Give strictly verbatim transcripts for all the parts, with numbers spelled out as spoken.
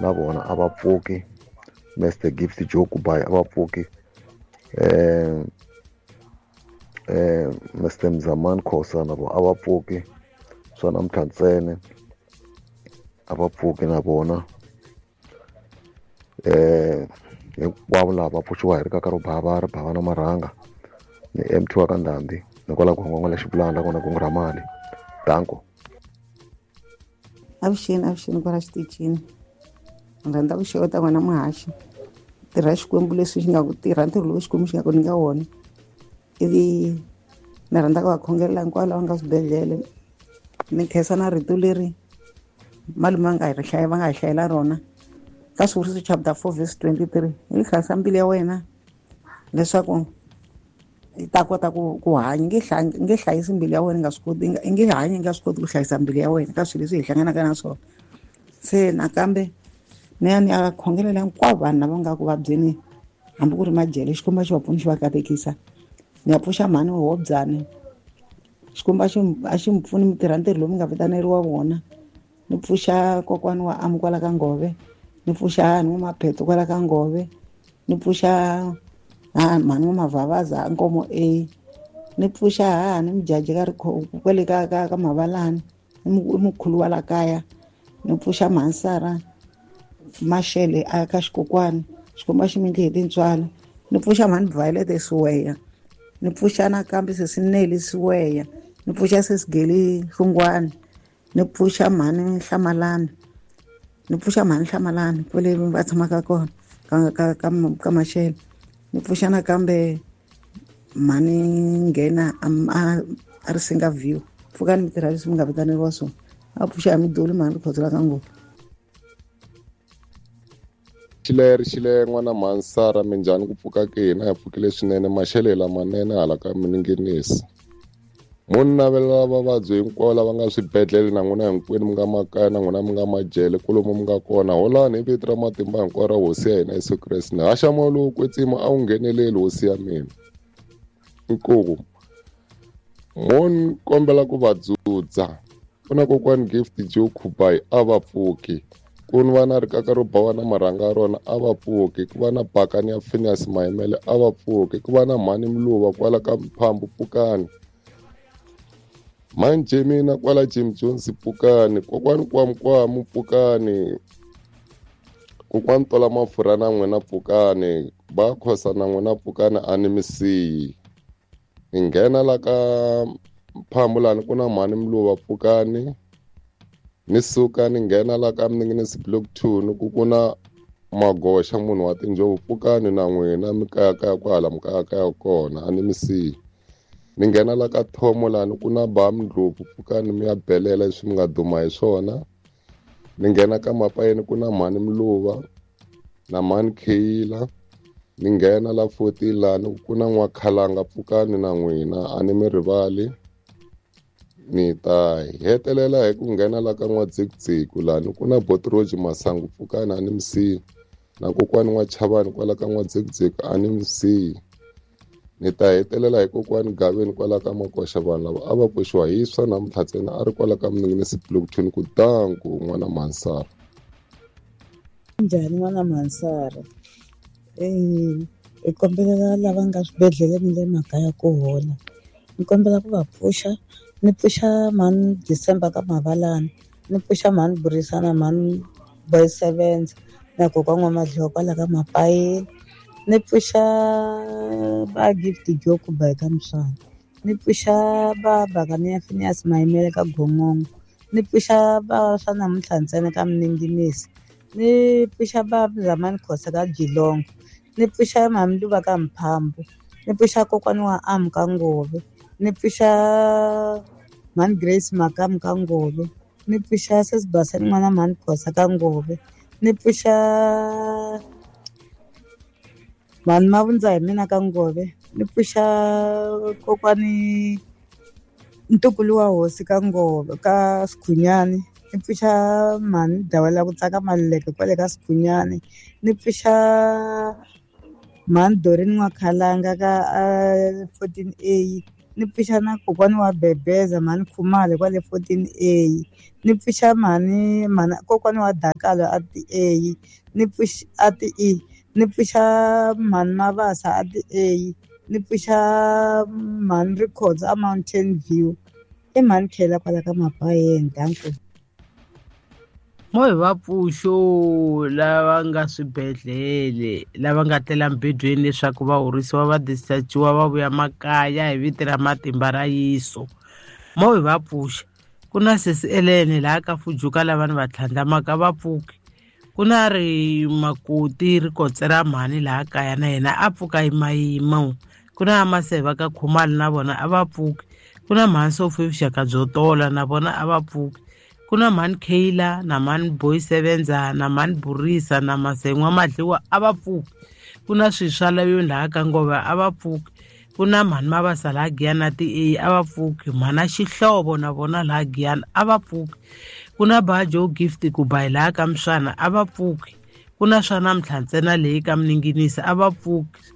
na vona a va pfuki. Mister Gift Joe Kubai a va pfuki. Eh eh Mister Mzaman Khosa na vona a va pfuki. Swa namuntlha ntsena a va pfuki na vona. Eh hinkwavo lava va pfuxiwa hi rikaka ro bava ri bava na marhanga ni M T wa ka Ndhambi ni kwala ku hongela xipulana la kona kungu ra mali. Danko. Avuxeni, avuxeni kwala xitichini. Ni rhandza ku xeweta n'wana muhaxi. Tirha Xikwembu leswi xi nga ku tirha ntirho lowu Xikwembu xi nga ku nyika wona. Ivi ni rhandza ku va khongelela hinkwavo lava nga swibedhlele. Ni khensa na rito leri malume va nga hi ri hlaya va nga hi hlayela rona ka Swivuriso chapter four verse twenty-three. Yi hlayisa mbilu ya wena leswaku yi ta kota ku ku hanya. Nge hla- nge hlayisi mbilu ya wena yi nga swi koti, i nge hanyi i nga swi koti ku hlayisa mbilu ya wena ka swilo leswi hi hlanganaka na swona. Se nakambe ni ya ni ya khongelela hinkwavo vanhu lava nga ku vabyeni hambi ku ri majele, Xikwembu a xi va pfuni xi va katekisa. Ni ya pfuxa mhani Hobyani, Xikwembu a xi a xi mi pfuni mi tirha ntirho lowu mi nga vitaneriwa wona. Ni pfuxa kokwani wa Amu kwala ka Ngove, ni pfuxa hani wa Mapheto kwala ka Ngove, ni pfuxa mhani wa Mavhavaza Nkomo A, ni pfuxa hani Mujaji ka Rikho kwale ka ka ka Mavalani, i mukhulu wa la kaya. Ni pfuxa mhani Sara Mashele a ka Xikokwani, Xikwembu a xi mi endli hi tintswalo. Ni pfuxa mhani Violet Siweya, ni pfuxa nakambe sesi Nelly Siweya, ni pfuxa sesi Geli Hlungwani, ni pfuxa mhani Hlamalani, ni pfuxa mhani Hlamalani kwale va tshamaka kona ka ka ka ka Mashele. Ni pfuxa nakambe mhani Nghena a a ri Singa View. Pfukani mi tirha leswi mi nga vitaneriwa swona. A pfuxa hi midoli mhani Rikhotso ka Ngopfu. Xileri xile n'wana Mansara, minjhani ku pfuka ke hina hi pfukile swinene, maxele lamanene hala ka Mininghenisi. Mo ni navelela vavabyi hinkwavo lava nga swibedhlele na n'wina hinkwenu mi nga makaya na n'wina mi nga majele kwalomu mi nga kona. Holani hi vito ra matimba hinkwawo ra hosi ya hina Yesu Kreste. Haxa moya lowo kwetsima a wu ngheneleli hosi ya mina. Inkomu. Mo ni kombela ku va dzudza. Ku na kokwani Gift Joe Kubai a va pfuki. Ku va na rikaka ro bawa na marhanga ya rona a va pfuki. Ku va na bakani ya Phineas Maimele a va pfuki. Ku va na mhani Mluva kwala ka Mphambu pfukani. Mhani Jemina kwala Jim Jones pfukani. Kokwani Kwamukwamu pfukani. Kokwani Tola Mafurha na n'wina pfukani. Va Khosa na n'wina pfukani a ni mi siyi. Ni nghena la ka Mphambu lani ku na mhani Mluva pfukani. Ni suka ni nghena la ka Mininghenisi block two ni ku ku na Magoxa munhu wa tinjhovo pfukani na n'wina mi kayakaya kwahala mi kayakaya kona a ni mi siyi. Ni nghena la ka Thomo lani ku na ba Mndlopfu pfukani mi ya belela leswi mi nga duma hi swona. Ni nghena ka Mapayeni ku na mhani Mluva na mhani Kheyila. Ni nghena la fourteen lani ku na N'wakhalanga pfukani na n'wina a ni mi rivali. Ni ta hetelela hi ku nghena la ka N'wadzikudziku lani ku na Botroji Masangu pfukani a ni mi siyi. Na kokwani N'wachavani kwala ka N'wadzikudziku a ni mi siyi. Ni ta hetelela hi kokwani Gaveni kwala ka Makoxa. Vanhu lava a va pfuxiwa hi swa namuntlha ntsena a ri kwala ka Mininghenisi block two ku danku n'wana Mansara. Njhani n'wana Mansara? Eh, hi kombela lava nga swibedhlele ni le makaya ku hola. Ni kombela ku va pfuxa. Ni pfuxa mhani December ka Mavalani, ni pfuxa mhani Burisana, mhani Boy Sevens na kokwa N'wamadliwa kwala ka Mapayeni. Ni pfuxa va Gift Joe Kubai ka Mswana. Ni pfuxa va Bakani ya Phineas Maimele ka Gongongo. Ni pfuxa va swa namuntlha ntsena ka Mininghenisi. Ni pfuxa va Zamani Khosa ka Jilongo. Ni pfuxa Mhani ka Mphambu. Ni pfuxa kokwani wa Amu ka Ngove. Ni pfuxa mhani Grace Makamu ka Ngove. Ni pfuxa sesi Basani n'wana mhani Khosa ka Ngove. Ni pfuxa mhani Mavundza hi mina ka Ngove. Ni pfuxa kokwani ntukulu wa hosi ka Ngove ka Sikhunyani. Ni pfuxa mhani Dawela ku tsaka Maluleke kwale ka Sikhunyani. Ni pfuxa mhani Dorini N'wakhalanga ka fourteen A. Ni pfuxa na kokwani wa Bebeza mhani Khumalo kwale fourteen A. Ni pfuxa mhani mhani kokwani wa Dakalo a ti A. Ni pfuxa a ti E. Ni pfuxa mhani Mabasa a ti A. Ni pfuxa mhani Records a Mountain View. I mhani tlhela kwala ka Mapayeni, danko. Mo hi va pfuxo lava nga swibedhlele lava nga tlela mbedweni leswaku va horisiwa va dischargiwa va vuya makaya hi vito ra matimba ra Yesu. Mo hi va pfuxa. Ku na sesi Elene laha ka Fujuka lava ni va tlhandlamaka va pfuki. Ku na ri makoti ri kotse ra mhani laha kaya na yena a pfuka yimayima. Ku na Maseva ka Khumalo na vona a va pfuki. Ku na mhani Sophie vuxaka byo tola na vona a va pfuki. Ku na mhani Kayla na mhani Boy Sevenza na mhani Burisa na Masengwa Madliwa a va pfuki. Ku na swiswa layo laha ka Ngova a va pfuki. Ku na mhani Mabasa laha Giyani ti A a va pfuki. Mhana Xihlovo na vona laha Giyani a va pfuki. Ku na Bajo Gift ku bayi laha ka Mswana a va pfuki. Ku na swa namuntlha ntsena leyi ka Mninginisi a va pfuki.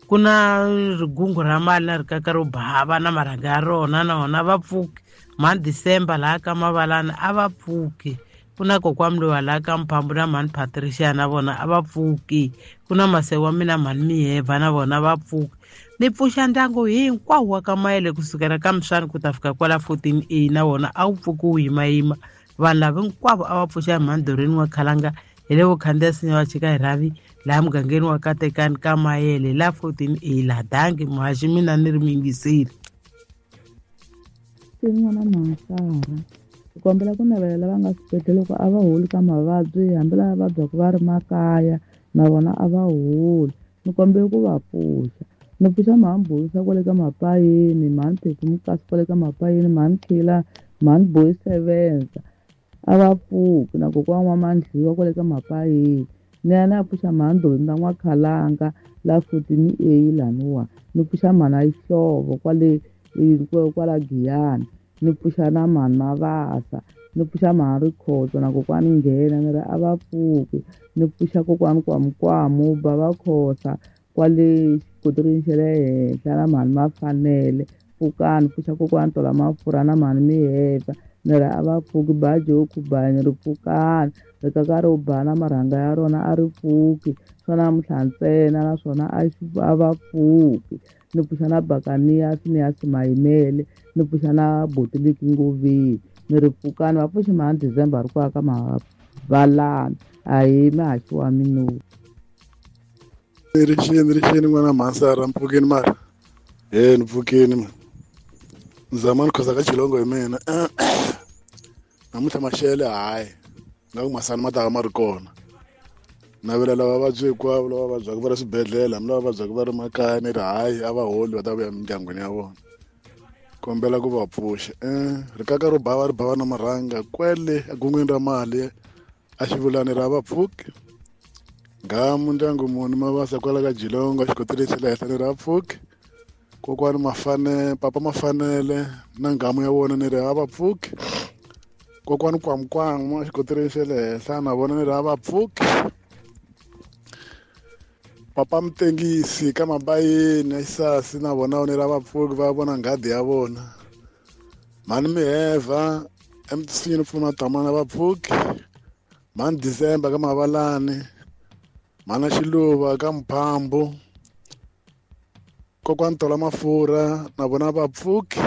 Ku na rigungu ra mali na rikaka ro bava na marhanga ya rona na wona va pfuki. Mhani December laha ka Mavalani a va pfuki. Ku na kokwani loyi laha ka Mphambu na mhani Patricia na vona a va pfuki. Ku na mase wa mina mhani Miheva na vona va pfuki. Ni pfuxa ndyangu hinkwawo wa ka Mayele kusukela ka Mswani ku ta fika kwala fourteen A na wona a wu pfuki wu yimayima. Vanhu lava hinkwavo a va pfuxa hi mhani Doreen wa Khalanga hi le vukhandziya sinya va chika hi rhavi laha mugangeni wa Katekani ka Mayele la fourteen A laha dangi muhaxi mina ni ri miyingiseli. N'wana Masara hi kombela ku navela lava nga swibedhlele loko a va holi ka mavabyi hambi lava vabyaka va ri makaya na vona a va holi. Ni kombela ku va pfuxa. Ni pfuxa mhani Busa kwale ka Mapayeni, mhani Phephi Mukasi kwale ka Mapayeni, mhani Khila, mhani Boy Sevenza a va pfuki na kokwana wa Mandliwa kwale ka Mapayeni. Ni ya ni ya pfuxa mhani Dorinda N'wakhalanga la fourteen A laniwa. Ni pfuxa mhani Xihlovo kwale kwala Giyani. Ni pfuxa na mhani Mabasa. Ni pfuxa mhani Rikhotso na kokwani Nghena ni ri a va pfuki. Ni pfuxa kokwani Kwamukwamu Bava Khosa kwale xikoteleni xa le henhla na mhani Mafanele. Pfukani pfuxa kokwani Tola Mafurha na mhani Miheva ni ri a va pfuki. Bajo Khubani ri pfukani rikaka ro ba na marhanga ya rona a ri pfuki swa namuntlha ntsena naswona a a va pfuki. Ni pfuxa na Bakania Phineas Mayimele. Ni pfuxa na Botiliki Ngoveni ni ri pfukani. Va pfuxi mhani December ri kwaka Mavalani a hi muhaxi wa mina. Ni ri xini ri xini n'wana Mhasara mpfukeni mara he ni pfukeni ma Nzamani khosa ka Chilongo hi mina. Namuntlha maxele hayi nga ku masana ma ta ma ri kona. Navela lava vabyi hinkwavo lava vabyaka va ri swibedhlele hambi lava vabyaka va ri makaya ni ri hayi a va holi va ta vuya emindyangwini ya vona. Kombela ku va pfuxa. Rikaka ro bava ri bava na marhanga kwele egungwini ra mali a xivulani ra va pfuki. Nghamu ndyangu muni Mabasa kwala ka Jilongo xikoteleni xa le henhla ni ri a pfuki. Kokwani Mafane papa Mafanele na nghamu ya vona ni ri a va pfuki. Kokwani Kwamukwamu xikoteleni xa le henhla na vona ni ri a va pfuki. Papa Mtengisi ka Mabayeni a Xisasi na vona ni ri a va pfuki va vona nghadi ya vona. Mhani Miheva emthisini pfuna tamana va pfuki. Mhani December ka Mavalani. Mhana Xiluva ka Mphambu. Kokwani Tola Mafurha na vona va pfuki.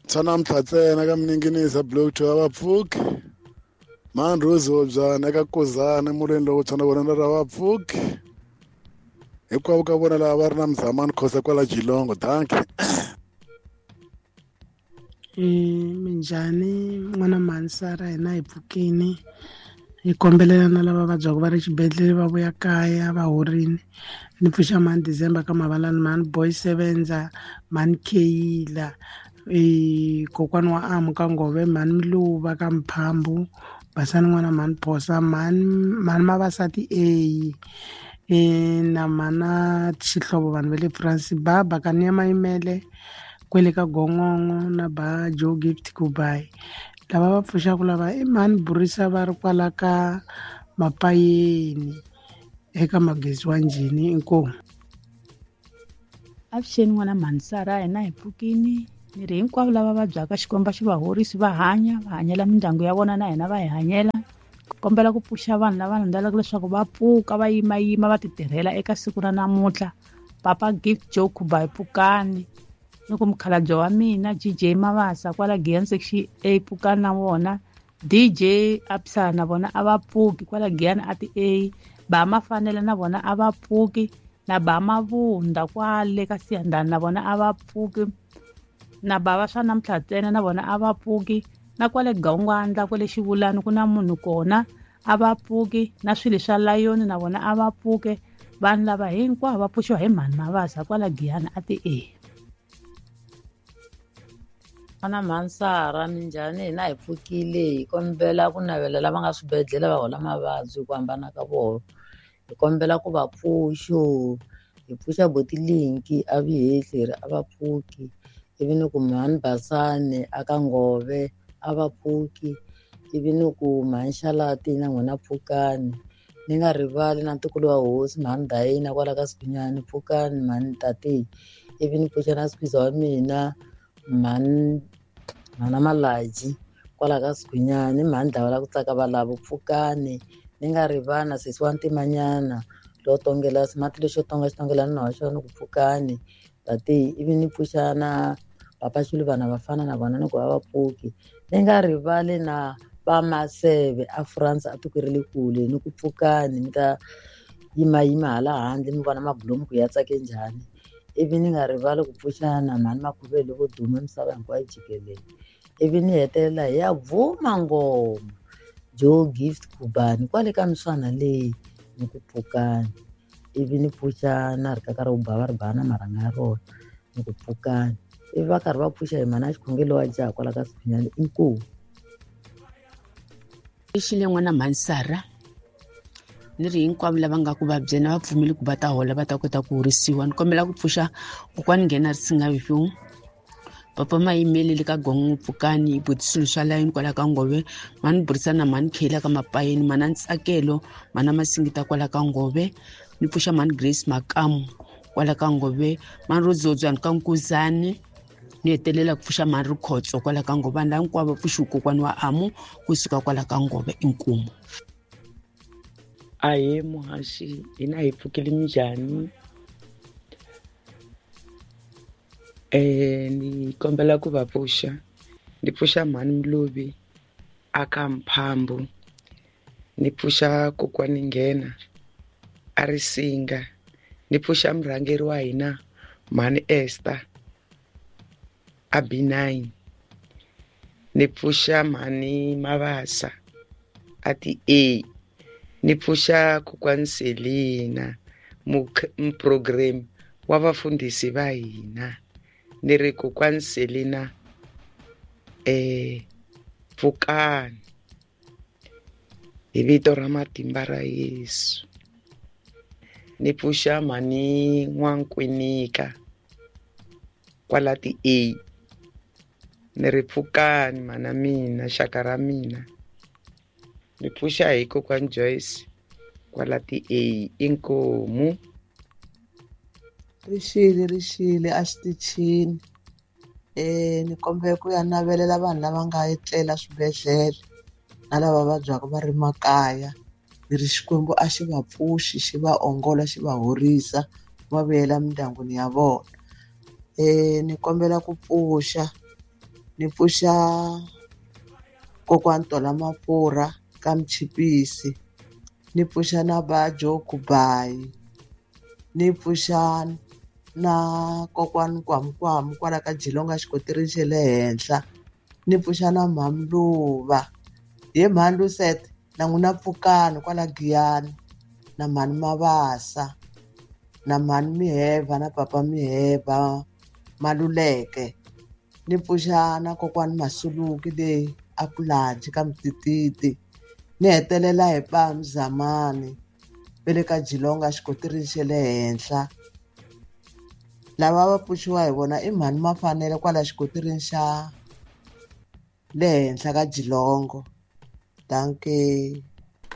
Swa namuntlha ntsena ka Mninginisa block two a va pfuki. Mhani Rose Hobyana eka Kozana emureni lowu tshwana vona na ra va pfuki. Hinkwavo ka vona lava va ri na Mzamani Khosa kwala Jilongo danki. Minjhani n'wana Mhansara hina hi pfukini. Hi kombelela na lava vabyaka va ri xibedhlele va vuya kaya va horini. Ni pfuxa mhani December ka Mavalani, mhani Boy Sevenza, mhani Kayila, kokwani wa Amu ka Ngove, mhani Miluva ka Mphambu, Basani n'wana mhani Phosa, mhani mhani Mavasati A na mhana Xihlovo vanhu va le France, ba Bakania Mayimele kwele ka Gongongo na ba Joe Gift Kubai. Lava va pfuxaka lava i mhani Burisa va ri kwala ka Mapayeni eka Magezi wa Njhini. Inkomu. Avuxeni n'wana Mhansara, hina hi pfukini ni ri hinkwavo lava vabyaka Xikwembu xi va horisi va hanya, va hanyela mindyangu ya vona na hina va hi hanyela. Kombela ku pfuxa vanhu lava landzelaka leswaku va pfuka va yimayima va titirhela eka siku ra namuntlha. Papa Gift Joe Kubai pfukani, ni ku mukhalabye wa mina G J Mabasa kwala Giyani Section A pfukani na vona, D J Absa na vona a va pfuki kwala Giyani a ti A, ba Mafanele na vona a va pfuki, na ba Mavunda kwale ka Siyandhani na vona a va pfuki, na bava swa namuntlha ntsena na vona a va pfuki, na kwale Gawungwandla kwale Xivulani ku na munhu kona a va pfuki, na swilo swa Layoni na vona a va pfuke. Vanhu lava hinkwavo va pfuxiwa hi Mhani Mabasa kwala Giyani a ti A. N'wana Mhansara, minjhani? Hina hi pfukile, hi kombela ku navela lava nga swibedhlele va hola mavabyi ku hambana ka vona. Hi kombela ku va pfuxo, hi pfuxa Botilinki a vi hehli ri a va pfuki, ivi ni ku Mhani Basani a ka Ngove a va pfuki, ivi ni ku Mhani Xalati na n'wina pfukani. Ni nga rivali na ntukulu wa hosi Mhani Dayina kwala ka Sikunyani, pfukani Mhani Tate. Ivi ni pfuxa na squeeze wa mina Mhani Mhana Malaji kwala ka Sikunyani, Mhani Dlava la ku tsaka valavo pfukani. Ni nga rivali na sesi wa Ntimanyana lowo tongela smart lexo tonga xitongela na wa xona ku pfukani tate. Ivi ni pfuxa na Papa Xiluvana vafana na vona ni ku va va pfuki. Ni nga rivali na va Maseve a France a tiko ra le kule ni ku pfukani, mi ta yimayima hala handle mi vona mabulomu ku ya tsake njhani. Ivi ni nga rivali ku pfuxa na Mhani Makhuvele vo duma misava hinkwayo jikelele. Ivi ni hetelela hi ya bvuma ngoma Joe Gift Kubani kwale ka miswana leyi ni ku pfukani. Ivi ni pfuxa na rikaka ra ku ba va ri ba na marhanga ya rona ni ku pfukani. Ivi va karhi va pfuxa hi mhana xikhongelo wa jaha kwala ka Siphinyani inkomu. Xile n'wana Mhansara, ni ri hinkwavo lava nga ku vabyeni va pfumeli ku va ta hola va ta kota ku horisiwa. Ni kombela ku pfuxa kokwani nghena ri singavifiwu, Papa Mayimeli le ka Gongo pfukani, buti swilo swa layini kwala ka Ngove, mhani burisana mhani Khela ka Mapayeni, mhana Ntsakelo, mhana Masingita kwala ka Ngove, ni pfuxa mhani Grace Makamu kwala ka Ngove, mhani Rozodzwani ka Nkuzani, ni hetelela ku pfuxa mhani Rikhotso kwala ka Ngove. Vanhu lava hinkwavo va pfuxiwe kokwani wa Amu kusuka kwala ka Ngove. Inkomu. Ahee muhaxi, hina hi pfukile minjhani? Eh ni kombela ku va pfuxa. Ni pfuxa Mhani Mluvi a ka Mphambu, ni pfuxa kokwani Nghena a ri Singa, ni pfuxa murhangeri wa hina Mhani Esther a B nine, ni pfuxa Mhani Mabasa a ti A, ni pfuxa kokwani Selina muprogram wa vafundhisi va hina. Ni ri kokwani Selina eh pfukani hi vito ra matimba ra Yesu. Ni pfuxa Mhani N'wankwinika kwala ti A, ni ri pfukani mhana mina xaka ra mina. Ni pfuxa hi kokwani Joyce kwala ti A. Inkomu. Rixile rixile a xitichini. Eh ni kombela ku ya navelela vanhu lava nga etlela swibedhlele na lava vabyaka va ri makaya. Ni ri Xikwembu a xi va pfuxi, xi va ongola, xi va horisa, va vuyela mindyangwini ya vona. Eh ni kombela ku pfuxa, ni pfuxa kokwani Tola Mafurha ka Mchipisi, ni pfuxa na ba Joe Kubai, ni pfuxa na kokwani Kwamukwamu kwala ka Jilonga xikotirini xa le henhla, ni pfuxa na Mhamluva ye Mhani Luset na n'wina pfukani kwala Giyani, na Mhani Mabasa na Mhani Miheva na Papa Miheva Maluleke, ni pfuxa na kokwani Masuluki leyi a Pulaji ka Mtititi, ni hetelela hi pa Mzamani ve le ka Jilonga xikotirini xa le henhla. Lava va pfuxiwa hi vona i Mhani Mafanele kwala xikotirini xa le henhla ka Jilongo. Dankie.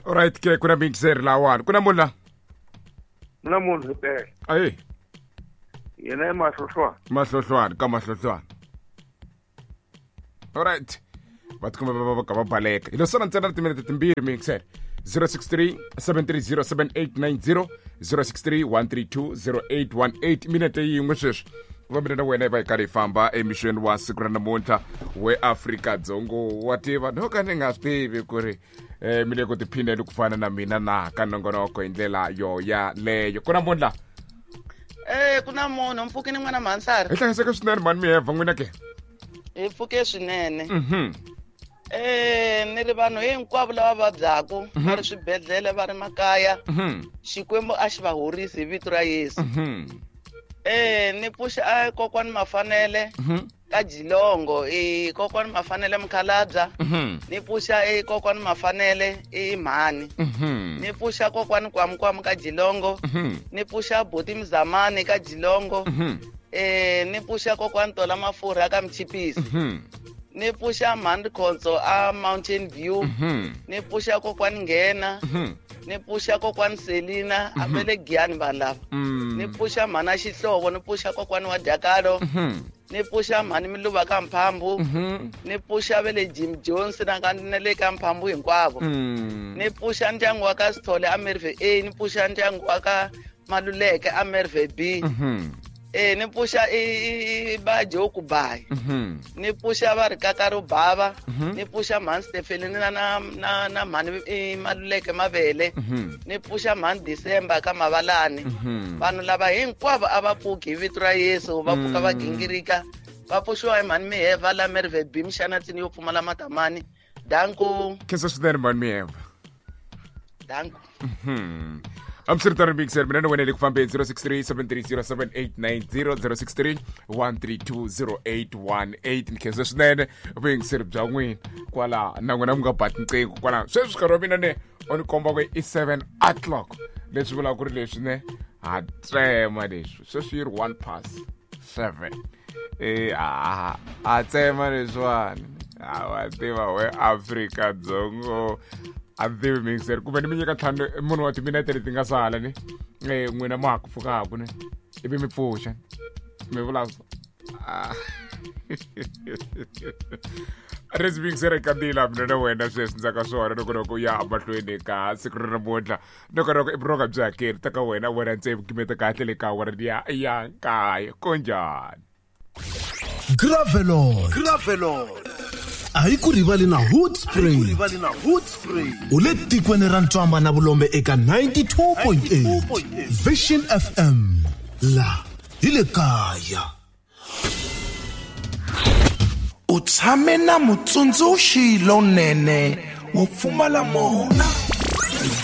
Alright ke kuna mixer lawani. Kuna munhu la? Kuna munhu hi tele. Ayi. Yena i Mahlohlwana. Mahlohlwana ka Mahlohlwana. Alright. Va tikuma va va ka va baleka. Hi lo sala ntsena timinete timbirhi mixer. zero six three seven three zero seven eight nine zero zero six three one three two zero eight one eight minete yin'we sweswi. Va mina na wena hi va hi karhi hi famba emixweni wa siku ra namuntlha we Afrika-Dzongo wa tiva no ka ni nga swi tivi ku ri um mi le ku tiphineni ku fana na mina na ka nongonoko hi ndlela yo yaleyo. Ku na munhu la? Eh ku na munhu mpfukini n'wana Mhansara. Hi hlayiseke swinene mhani Miheva n'wina ke? Hi pfuke swinene. Mhm. Eh ni ri vanhu hinkwavo lava vabyaku va ri swibedhlele va ri makaya. Xikwembu a xi va horisi hi vito ra Yesu. Eh ni pfuxa a kokwani Mafanele ka Jilongo e kokwani Mafanele Mkhalabya. Ni pfuxa e kokwani Mafanele e mhani. Ni pfuxa kokwani Kwamkwamu ka Jilongo. Ni pfuxa Boti Mzamani ka Jilongo. Eh ni pfuxa kokwani Tola Mafurha ka Mchipisi. Ni pfuxa Mhani Khonso a Mountain View. Ni pfuxa kokwani Nghena. Ni pfuxa kokwani Selina a vele Giyani vanhu lava. Ni pfuxa mhana Xihlovo, ni pfuxa kokwani wa Dyakalo. Ni pfuxa mhani Miluva ka Mphambu. Ni pfuxa vele Jim Jones na ka na le ka Mphambu hinkwavo. Ni pfuxa ndyangu wa ka Sithole a Merve A, ni pfuxa ndyangu wa ka Maluleke a Merve B. Eh ni pfuxa i ba Joku Bai. Ni pfuxa va ri Kakaro Bava, ni pfuxa mhani Stefeni na na na na mhani Maluleke Mavele. Ni pfuxa mhani December ka Mavalani. Vanhu lava hinkwavo a va pfuki hi vito ra Yesu, va pfuka va gingirika. Va pfuxiwa hi mhani Miheva la Merve B mixanatsini yo pfumala matamani. Danko. Khensa swinene mhani Miheva. Danko. Mhm. Amsiritan mixer mina na wena le ku fambeni zero six three seven three zero seven eight nine zero zero six three one three two zero eight one eight. Ni khensa swinene vuyingiseri bya n'wina kwala na n'wina mi nga bati nqingho kwala sweswi nkarhi wa mina ne u ni komba ku i seven o'clock leswi vulaka ku ri leswi ne ha tsema leswi sweswi yi ri one past seven e a a tsema leswiwani a wa tiva we Afrika-Dzongo a tivi mixer kumbe ni mi nyika ntlhanu munhu wa timinete leti nga sala ni eh n'wina ma ha ku pfukaku ni ivi mi pfuxa mi vula resi mixer eka ndila mina na wena sweswi ndza ka swona loko loko ya emahlweni ka siku ra namuntlha loko loko i vuroka byi hakeri ta ka wena wena ntsevu gimeta kahle le ka wena ya ya nkaye kunjhani Gravelon Gravelon a hi ku rivali na Hood Spring u le tikweni ra Ntswamba na Vulombe eka ninety-two point eight Vision F M la hi le kaya. U tshame na mutsundzuxi lonene wo pfumala mona.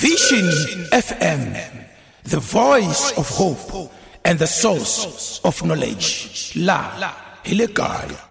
Vision F M, the voice of hope and the source of knowledge. La hi le kaya.